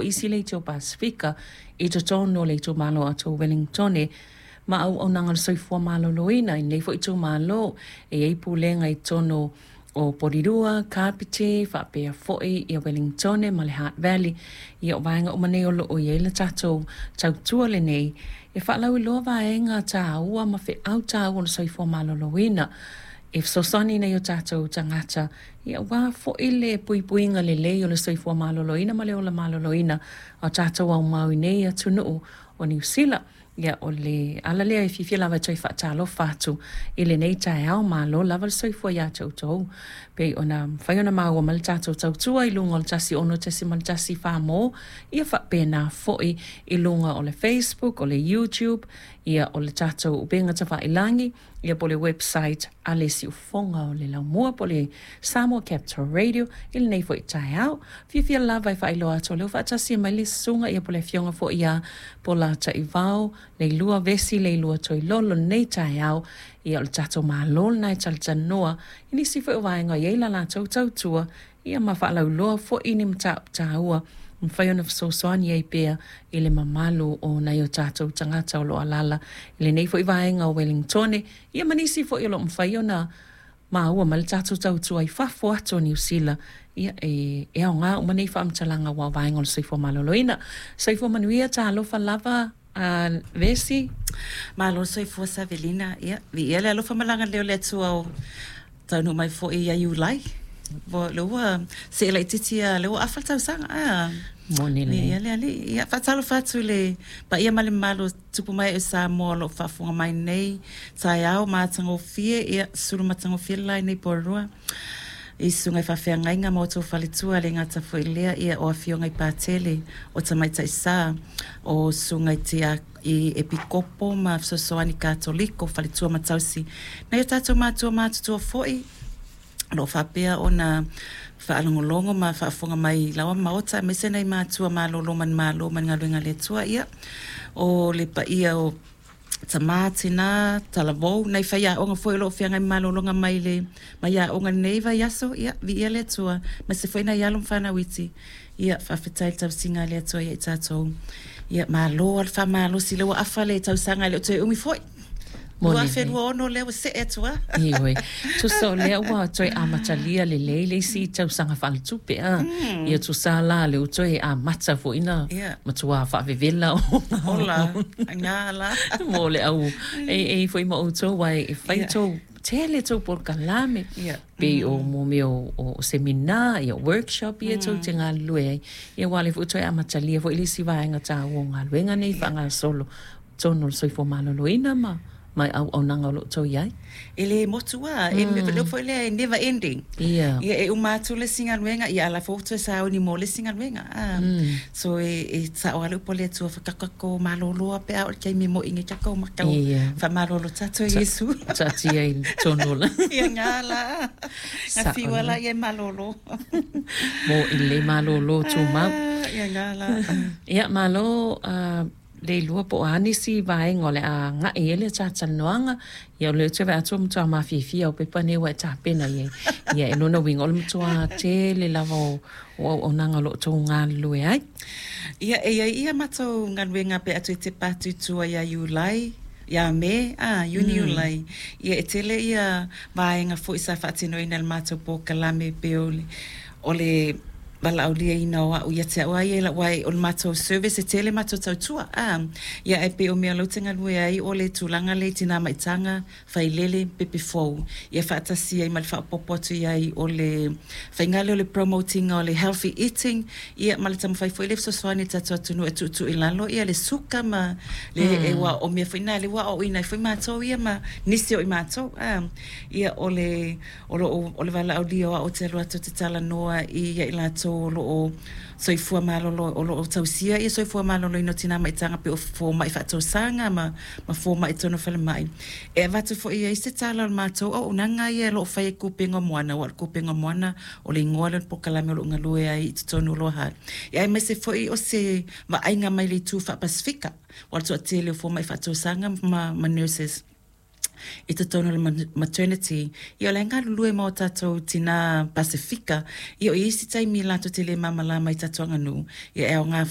Isi le Itu Pasefika i totonu o le itumalo atu o Wellingtone ma auaunaga o le soifua maloloina i lenei foi itumalo. E i ai pulega i totonu o Porirua, Kapiti, faapea foi ia Wellingtone ma le Hutt Valley. Ia o vaega uma nei o lo o i ai le tatou tautua lenei e faalauiloa vaega taua ma feau taua o le soifua maloloina e fesoasoani i nai o tatou tagata Ia aua foi le puipuiga lelei o le soifua maloloina ma le ola maloloina o tatou aumau i nei atunuu o Niu Sila. Ia o le ala lea e fiafia lava e toe faatalofa atu i lenei taeao. Malo lava le soifua ia te outou. Pei ona mafai ona maua mai le tatou tautua i luga o le 106.1 Farmall, ia faapena foi i luga o le Facebook, o le YouTube, ia o le tatou upega tafailagi, ia po o le website a le Siufofoga o le Laumua po o le Samoa Capital Radio i lenei foi taeao. Fiafia lava e faailoa atu o lea ua faatasi mai le susuga ia po o le afioga foi ia Polataivao Leilua Vesi Leilua Toilolo i lenei taeao. Ia o le tatou Malo lena e talatalanoa i nisi foi o vaega o i ai la latou tautua ia ma faalauiloa foi ni mataupu taua e mafai ona fesoasoani ai pea i le mamalu o nai o tatou tagata o lo o alaala i lenei foi vaega o Wellingtone, ia ma nisi foi o lo o mafai ona maua mai le tatou tautua i fafo atu o Niu Sila, ia e e aoga uma nei faamatalaga aua o vaega o le soifua maloloina. Soifua manuia, talofa lava a Vesi. Malo le soifua Savelina, ia viia le alofa ma le agalelei o le Atua ua taunuu mai foi ia Iulai. Ua lea ua see laitiiti a lea ua afa le tausaga a. Moni lelei. Viia le Alii. Ia faatalofa atu i le paia ma le mamalu o tupu ma ee o Samoa o lo o faafofoga mai nei taeao matagofie, ia sulu matagofie le la i nei Porirua. I susuga i faafeagaiga ma outou faletua, le gata foi i lea, ia, o afioga i Patele, o Tamaitai Sa, o susuga i tia, i Epikopo ma Fesoasoani Katoliko, faletua ma tausi, nai o tatou matua matutua foi, o lo o faapea ona faalogologo ma faafofoga mai i laoa maota, aemaise nai matua malolo manumalo mai le galuega a le Atua, ia, o le paia o tama, tina, talavou, nai faiaoga foi o lo o feagai ma malologa mai le mai aoga i lenei vaiaso, ia, viia le Atua, aemaise foi nai alo ma fanau iti, ia, faafetai i le tausiga a le Atua ia i tatou. Ia, malo lava le faamalosi, lea ua afa le tausaga e le o toe umi foi. 2026 lea ua see atu lava. Ioe. Tusa o lea ua toe amatalia lelei le isi tausaga faaletupe a. Ia tusa la lea ua toe amata foi na matua faavevela o Ola, ngā la. Mo le au e e foi ma outou aua e fai tou tele tou polokalame pei o mo mea o semina ia workshop ia tou te galulue ai. Ia aua o lea foi ua toe amatalia foi le isi vaega taua o galuega nei faagasolo totonu o le soifua maloloina ma ma auaunaga o lo o outou i ai. E le motu lava, e le upu foi lea e never ending. Ia. Ia e uma atu le isi galuega, ia a la foi ua toe sauni mo le isi galuega. So e e sao lava le upu a le Atua, whakakako malōlō a pe a oo i le taimi e moe nei tatou matau. Ia. Whamalolo tatou e Iesu. Taatia i tonu la. Ia ngā la. Ngā whiua la ia e malōlō. Mo i lelei malōlō tumau. Ia ngā la. Ia malo Leilua po o a nisi vaega o le a agai i ai le talatalanoaga. Ia o lea ou te vaai atu ua matua mafiafia au pepa nei ua e tapena i ai. Ia e lona uiga o le matua tele lava o o auaunaga o lo o outou galulue ai. Ia e i ai ia matou galuega pe atu e tepa atu i tua ia Iulai, ia Me, a, Iuni Iulai. Ia e tele ia vaega foi sa faatinoina e le matou polokalame pei o le o le valaauliaina o a'u ia te a'u a ia i la'u ae o le matou service e tele matou tautua a ia ae pei o mea lea ou te galue ai o le tulaga lea i tina maitaga failele pepe fou ia faatasi ai ma le faaopoopo atu i ai o le faiga lea o le promote ina o le healthy eating ia ma le taumafai foi lea e fesoasoani i le tatou atunuu e tuutuu i lalo ia le suka ma le aua o mea foi na lea ua aoaoina ai foi matou ia ma nisi o i matou a ia o le O lo o, o le valaaulia o a'u ou te alu atu ou te talanoa i ia i latou o lo o soifua malolo, o lo o tausia ia soifua maloloina o tinā maitaga pei o fomai faatausaga ma, ma fomai i totonu o falemai. E avatu foi i ai se tala o le matou auaunaga ia o lo o fai e Kupenga o Moana, aua o le Kupenga o Moana o le igoa lea o le polokalame o lo o galue ai i totonu o Lower Hutt. Ia aemaise foi o se vaaiga mai le itu faa-Pasefika, aua o le toatele o fomai faatausaga ma, ma nurses. I totonu o le maternity, ia o la e galulue ma o tatou tinā Pasefika. Ia o i ai isi taimi latou te le malamalama i tatou aganuu, ia e aoga.